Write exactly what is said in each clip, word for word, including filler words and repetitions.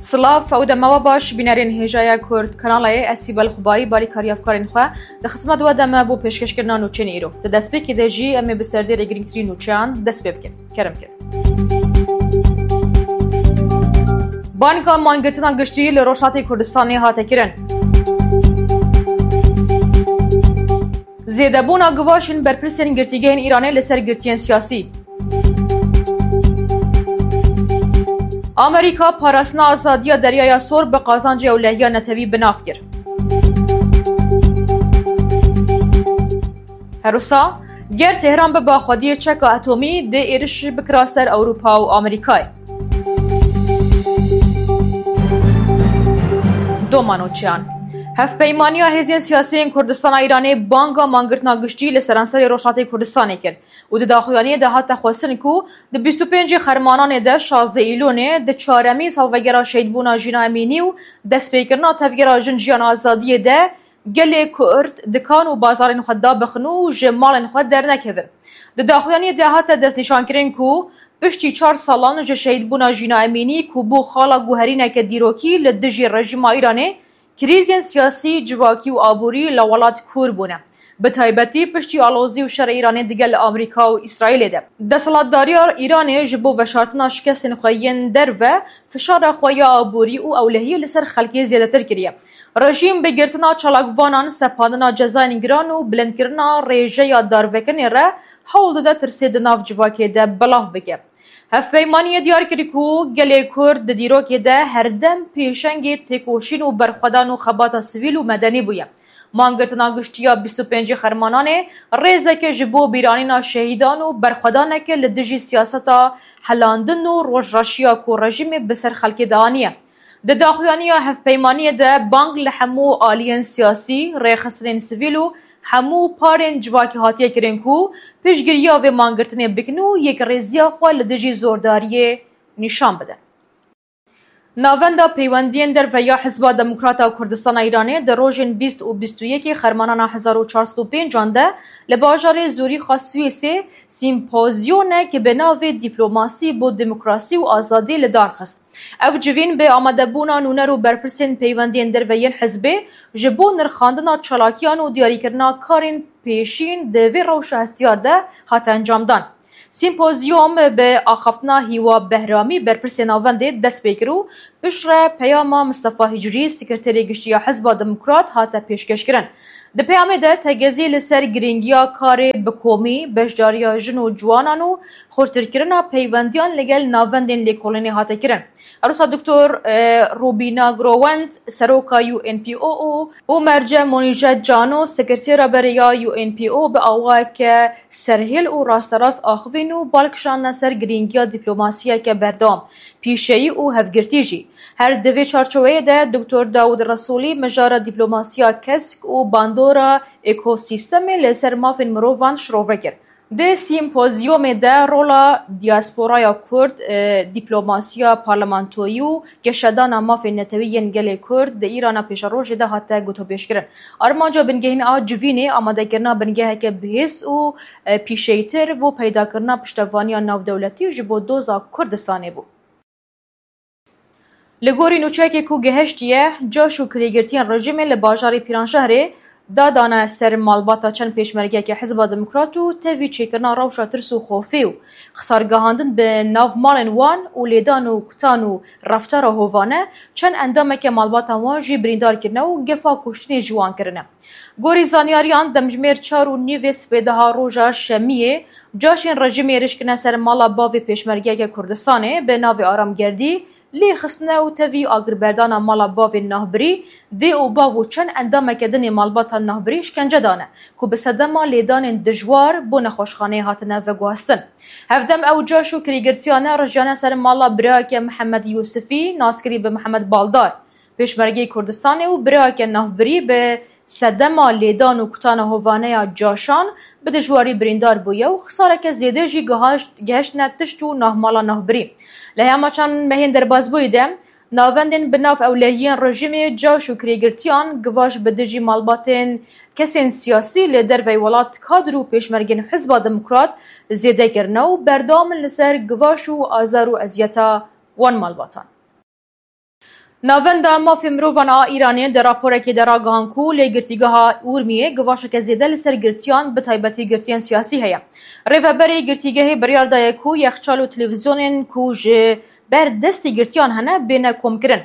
Silav, ew dema we baş, bînerên hêjaya Kurd Kanalê, ez Sîbel Xubayî, balîkarî hevkarên xwe, di xizmet we de me bo pêşkêşkirina nûçeyên îro. Di destpêkê de jî em ê bi serdêrê girîngtirîn nûçeyan dest pê bikin. Kerem kin. Banga mangirtina giştî li Rojhilatê Kurdistanê hate kirin. Zêdebûna givaşên berpirsên girtîgehên Îranê li ser girtiyên siyasî. Amerîka parastina azadiya Deryaya Sor bi qazancê ewlehiya netewî bi nav kir. Her wisa, ger Tehran biba xwediyê çeka etomî, dê êriş bikira ser Ewropa û Amerîkayê. Doma nûçeyan. Hevpeymaniya Hêzên Siyasî yên Kurdistana Îranê banga mangirtina giştî li seranserê Rojhilatê Kurdistanê kir û di daxuyaniyê de hate xwestin ku di bîst û pêncê Xermananê de şazdeh Îlonê di çaremîn salvegera şehîdbûna Jîna Emînî û destpêkirina Tevgera Jin Jiyan Azadiyê de gelê Kurd dikan û bazarên xwe dabixin û ji malên xwe dernekevin. Di daxuyaniyê de hate destnîşankirin ku piştî çar salan ji şehîdbûna Jîna Emînî ku bû xala guherîneke dîrokî li dijî rejîma Îranê, krîzên siyasî, civakî û aborî li welat kûr bûne. Bi taybetî piştî alozî û şerê Îranê digel Amerîka û Îsraîlê de. Desthilatdariya Îranê ji bo veşartina şikestên xwe yên derve fişara xwe ya aborî û ewlehiyê li ser xelkê zêdetir kiriye. Rejîm bi girtina çalakvanan, sepandina cezayên giran û bilindkirina rêjeya darvekirinê re hewl dide tirsê di nav civakê de belav bike. Hevpeymaniyê diyar kir ku gelê Kurd di dîrokê de herdem pêşengê têkoşîn û berxwedan û xebata sivîl û medenî bûye. Mangirtina giştî ya bîst û pêncê Xermananê rêzeke ji bo bîranîna şehîdan û berxwedaneke li dijî siyaseta helandin û rojreşiya ku rejîmê bi ser xelkê de aniye. Di daxuyaniya hevpeymaniyê de bang li hemû aliyên siyasî, rêxistinên sivîl û hemû parên civakî hatiye kirin ku piştgiriya vê mangirtinê bikin û yekrêziya xwe li dijî zordariyê nîşan bidin. Navenda Peywendiyên Derve ya Hizba Demokrata Kurdistana Îranê di rojên bîst û bîst û yekê Xermanana hezar û çar sed û pêncan de li bajarê Zurîxa Swîsê sîmpozyonek bi navê Dîplomasî bo Demokrasî û Azadî li dar xist. Ev civîn bi amadebûna nûner û berpirsên peywendiyên derve yên hizbê ji bo nirxandina çalakiyan û diyarîkirina karên pêşîn di vê rewşa hestiyar de hate encamdan. Sîmpozyûm bi axaftina Hîwa Behramî, berpirsê navendê, dest pê kir û piştre peyama Mistefa Hicrî, Sekreterê Giştî ya Hizba Demokrat, hate pêşkêşkirin. Di peyamê de tegezî li ser girîngiya karê bi komî, beşdariya jin û ciwanan û xurtirkirina peywendiyan li gel navendên lêkolînê hate kirin. Erosa Doktor, e, Rubîna Growend, seroka U N P O û, û Merce Monîje Cano, sekretera berê ya U N P O, bi awayeke serhêl û rasterast axivîn û bal kişandine ser girîngiya dîplomasiyeke berdewam, pîşeyî û hevgirtî jî. Her di vê çarçoveyê de Doktor Dawud Resûlî mijara dîplomasiya kesk û bandora ekosîstemê li ser mafên mirovan şirove kir. Di sîmpozyomê de rola diasporaya Kurd, e, dîplomasiya parlamentoyî û geşedana mafên netewî yên gelê Kurd di Îrana pêşerojê de hate gotopêşkirin. Armanca bingehîn a civînê amadekirina bingeheke bihêz û, e, pîşeyîtir bo peydakirina piştevaniya navdewletî ji bo doza Kurdistanê bû. Li gorî nûçeyekê ku gihiştiye, caş û kirêgirtiyên rejîmê li bajarê Pîranşehrê dadane ser malbata çend pêşmergeyeke Hizba Demokrat û tevî çêkirina rewşa tirs û xofê û xisargehandin bi nav malên wan û lêdan û kutan û reftara hovane, çend endameke malbatan wan jî birîndar kirine û gefa kuştinê ji wan kirine. Gorî zanyariyan, demjimêr çar û nîvê sibêdeha roja Şemiyê, caşên rejîmê êrîş kirine ser mala bavê pêşmergeyeke Kurdistanê bi navê Aram Gerdî, lê xistine û tevî agirberdana mala bavên navbirî, dê û bav û çend endameke din ê malbata navbirî şkence dane, ku bi sedema lêdanên dijwar bo nexweşxaneyê hatine veguhastin. Hevdem ew caş û kirêgirtiyane rijiyane ser mala birayeke Mihemed Yûsifî, naskirî bi Mihemed Baldar. Pêşmergeyê Kurdistanê û birayeke navbirî bi sedema lêdan û kutana hovane ya caşan bi dijwarî birîndar bûye û xisareke zêde jî gihaşt-, gihiştine tişt û navmala navbirî. Li hema çend mehên derbasbûyî de navendên bi nav ewlehiyên rejîmê, caş û kirêgirtiyan givaş bi dijî malbatên kesên siyasî li derveyî welat, kadr û pêşmergên Hizba Demokrat zêde kirine û berdewam in li ser givaş û azar û eziyeta wan malbatan. Navenda Mafê Mirovan a Îranê di raporekê de ragihan ku lê girtîgeha Urmiyê givaşeke zêde li ser girtiyan, bi taybetî girtiyên siyasî heye. Rêveberê girtîgehê biryar daye ku yexçal û televîzyonên ku ji ber destê girtiyan hene bêne komkirin.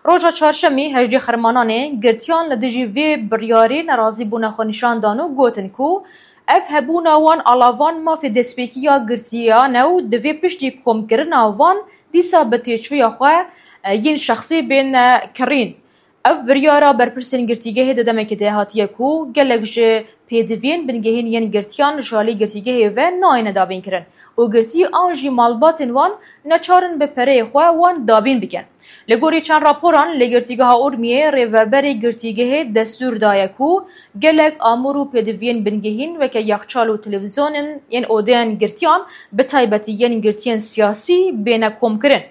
Roja çarşemî, hejdê Xermananê, girtiyan li dijî vê biryarê nerazîbûna xwe nîşan dan û gotin ku ev hebûna wan alavan mafê destpêkî ya girtiyan e û divê piştî komkirina wan dîsa bi têçûya xwe, e, yên şexsî bên, e, kirîn. Ev biryara berpirsên girtîgehê di demekê de hatiye ku gelek ji pêdiviyên bingehîn yên girtiyan ji alî girtîgehê ve nayêne dabînkirin û girtî an jî malbatên wan neçar in bi pereyê xwe wan dabîn bikin. Li gorî çend raporan, li girtîgeha Urmiyê rêveberê girtîgehê destûr daye ku gelek amûr û pêdiviyên bingehîn weke yexçal û televîzyonên yên odeyên girtiyan, bi taybetî yên girtiyên siyasî, bêne komkirin.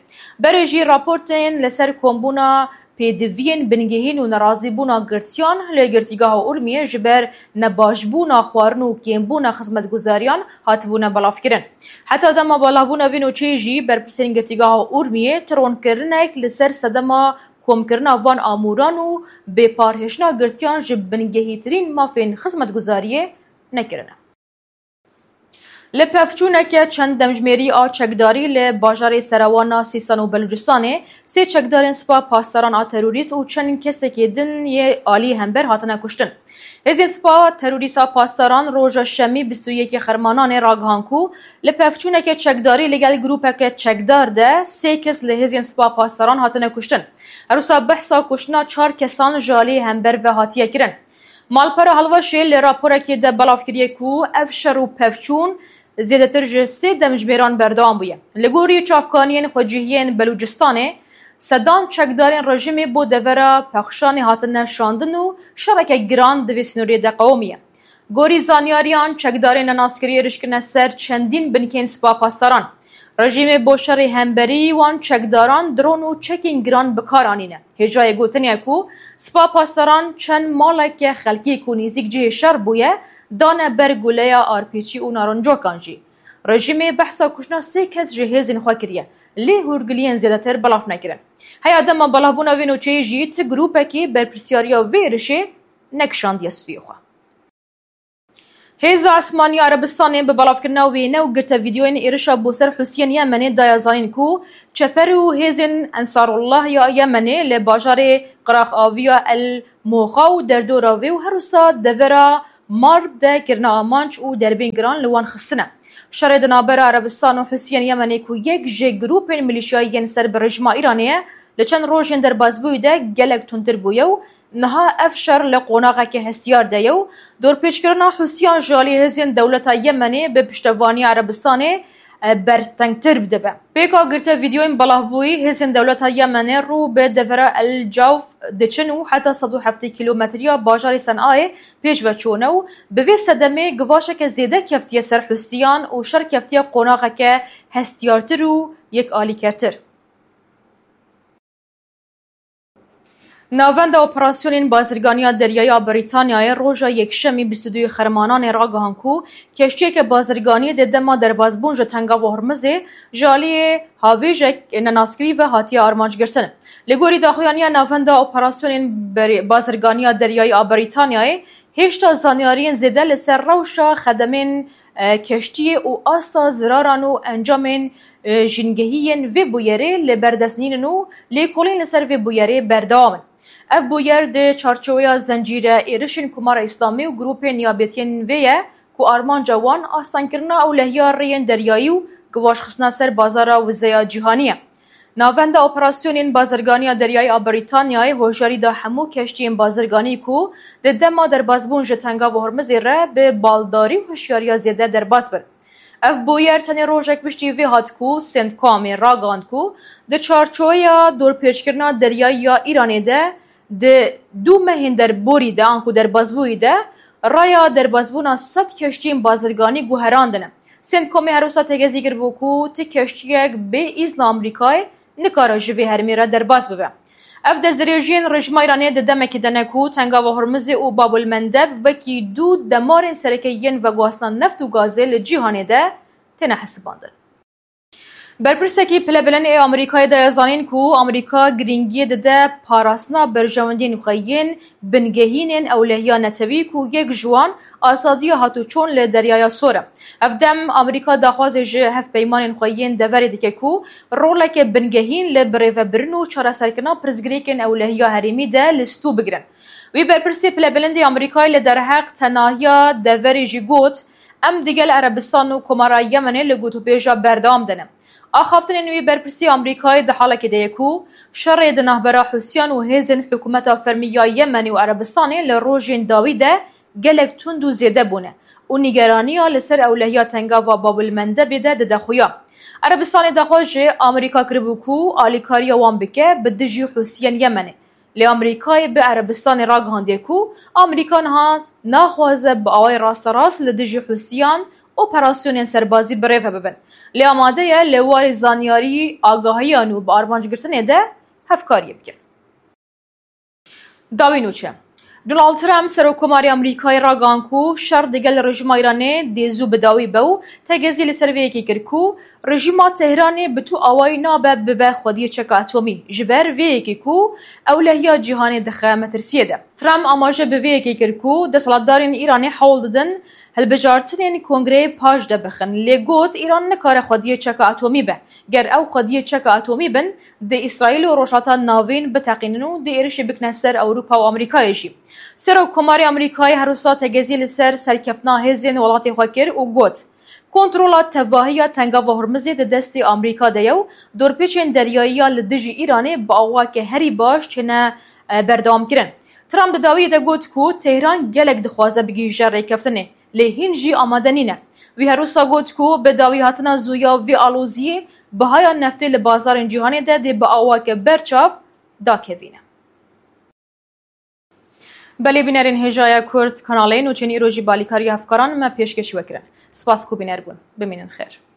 Berê jî raportên li ser kombûna pêdiviyên bingehîn û nerazîbûna girtiyan li girtîgeha Urmiyê ji ber nebaşbûna xwarin û kêmbûna xizmetguzariyan hatibûne belavkirin. Heta dema belavbûna vê nûçeyê jî berpirsên girtîgeha Urmiyê tironkirinek li ser sedema komkirina van amûran û bêparhêştina girtiyan ji bingehîtirîn mafên xizmetguzariyê nekirine. Li pevçûneke çend demjimêrî a çekdarî li bajarê Serewana Sîstan û Belûcistanê sê çekdarên Spa Pasdaran a terorîst û çend kesekê din yê alî hember hatine kuştin. Hêzên Spa terorîst a Pasdaran roja Şemî bîst û yekê Xermananê ragihan ku li pevçûneke çekdarî li gel grûpeke çekdar de sê kes li hêzên Spa Pasdaran hatine kuştin. Her wisa behsa kuştina çar kesan ji alî hember ve hatiye kirin. Malpera Helwaşê li raporekê de belav kiriye ku ev şer û pevçûn zêdetir ji sê demjimêran berdewam bûye. Li gorî çavkaniyên xwecihiyên Belûcistanê, sedan çekdarên rejîmê bo devera pexşanê hatine şandin û şereke giran di vê sînorê de qewimiye. Gorî zanyariyan, çekdarên nenaskirî êrişkirine ser çendîn binkên Spa Pasdaran. Rejîmê bo şerê hemberî wan çekdaran dron û çekên giran bi kar anîne. Hêjayê gotinê ye ku Spa Pasdaran çend maleke xelkî ku nêzîk cihê şer bûye, dane ber guleya R P G û narincokan jî. Rejîmê behsa kuştina sê kes ji hêzên xwe kiriye, lê hûrgiliyên zêdetir belav nekirin. Heya dema belavbûna vê nûçeyê jî ti grûpekî berpirsyariya vê êrişê nekişandiye stûyê xwe. Hêza Esmanî ya Erebistanê bi belavkirina wêne û girte vîdeoyên êrişa bo ser Husiyên Yemenê daye zanîn ku çeper û hêzên Ensarullah ya Yemenê li bajarê qiraxaviya El Moxa û derdora wê û her wisa devera Marb de kirine amanc û derbên giran li wan xistine. Şerê di navbera Erebistan û Husiyên Yemenê ku yek ji grûpên milîşyayî yên ser bi rejîma Îranê ye, li çend rojên derbasbûyî de gelek tundtir bûye û niha ev şer li qonaxeke hestiyar de ye û dorpêçkirina Hûsiyan ji alî hêzên dewleta Yemenê bi piştevaniya Erebistanê, e, bertengtir dibe. Pêka girte vîdeoyên belavbûyî, hêzên dewleta Yemenê rû bi devera El Cawf diçin û heta sed û heftê kîlometriya bajarê Senayê pêş ve çûne û bi vê sedemê givaşeke zêde keftiye ser Hûsiyan û şer keftiye qonaxeke hestiyartir û yekalîkertir. Navenda Operasyonên Bazirganiya Deryayî a Brîtanyayê roja Yekşemî bîst û duyê Xermananê ragihan ku keştiyeke bazirganiyê di dema derbasbûn ji Tengava Hormizê ji aliyê havêjek nenaskirî ve hatiye armanc girtin. Li gorî daxuyaniya Navenda Operasyonên Berê-, Bazirganiya Deryayî a Brîtanyayê, hêşta zanyariyên zêde li ser rewşa xedemên, e, keştiyê û asta ziraran û encamên, e, jîngehî yên vê bûyerê li ber dest nînin û lêkolîn li ser vê bûyerê berdewam in. Ev bûyer di çarçoweya zencîre êrişên Komara Îslamî û grûpên niyabetiyên vê ye ku armanca wan astengkirina ewlehiya rêyên deryayî û givaşxistina ser bazara wizeya cîhanî ye. Navenda Operasyonên Bazirganiya Deryayî a Brîtanyayê hoşyarî da hemû keştiyên bazirganî ku di dema derbasbûn ji Tengava Hormizê re bi baldarî û hişyariya zêde derbas bin. Ev bûyer tenê rojek piştî vê hat ku Centcomê ragihand ku di çarçoweya dorpêçkirina deryayî ya Îranê de di du mehên derborî de anku derbasbûyî de raya derbasbûna sed keştiyên bazirganî guherandine. Centcomê her wisa têgezî kiribû ku ti keştiyek bê îzna Amerîkayê nikare ji vê herêmê re derbas bibe. Ev destdirêjiyên rejîma Îranê di demekê de ne ku Tengava Hormizê û Babul Mendeb wekî du demarên sereke yên veguhastina neft û gazê li cîhanê de têne hesibandin. Berpirsekî pilebilind ê Amerîkayê daye zanîn ku Amerîka girîngiyê dide parastina berjewendiyên xwe yên bingehînên ewlehiya netewî ku yek ji wan azadiya hatûçûn li Deryaya Sor e. Ev dem Amerîka daxwazê ji hevpeymanên xwe yên deverê dike ku roleke bingehîn li birêvebirin û çareserkirina pirsgirêkên ewlehiya herêmî de li stû bigirin. Wî berpirsê pilebilindê Amerîkayê li derheq tenahiya deverê jî got, Em digel Erebistan û Komara Yemenê li gotûbêja berdewam de ne. Axaftinên wî berpirsî Amerîkayê di halekê de ye ku şerê di navbera Hûsiyan û hêzên hikûmeta fermî ya Yemenê û Erebistanê li rojên dawî de gelek tund û zêde bûne û nîgeraniya li ser ewlehiya tengava Babul Mendebê de dide xuya. Erebistanê daxwaz ji Amerîka kiribû ku alîkariya wan bike bi dijî Hûsiyên Yemenê. Lê Amerîkayê bi Erebistanê ragihandiye ku Amerîka niha naxwaze bi awayê rasterast li dijî Hûsiyan operasyonên serbazî bi rê ve bibin. Lê amade ye li warê zanyarî, agahiyan û bi armancgirtinê de hevkariyê bike. Dawî nûçe. Donald Trump, Serokkomarê Amerîkayê ragihand ku şer digel rejîma Îranê dê zû bi dawî be û tegezî li ser vê yekê kir ku rejîma Tehranê bi tu awayî nabe bibe xwediyê çeka atomî, ji ber vê yekê ku ewlehiya cîhanê dixe metirsiyê de. Trump amaje bi vê yekê kir ku desthilatdarên Îranê hewl didin hilbijartinên kongreyê paş de bixin, lê got Îran nikare xwediyê çeka atomî be. Ger ew xwediyê çeka atomî bin, dê Îsraîl û Rojhilata Navîn biteqînin û dê êrişê bikine ser Ewropa û Amerîkayê jî. Serokkomarê Amerîkayê her wisa tegezî li ser serkeftina hêzên welatê xwe kir û got, Kontrola tevahiya Tengava Hormizê di destê Amerîka de ye û dorpêçên deryayî ya li dijî Îranê bi awake herî baş têne, e, berdewamkirin. Trump di dawiyê de got ku Tehran gelek dixwaze bigihîje rêkeftinê, lê hîn jî amade nîne. Wî her wisa got ku bi dawî hatina zû ya vê aloziyê, bihaya neftê li bazarên cîhanê de dê bi awake berçav dakevîne. Belê bînerên hêjaya Kurd kanalê nûçeyên îro jî bi alîkariya hevkaran me pêşkêşî we kirin. Spas ku bîner bûn. Bimînin xêr.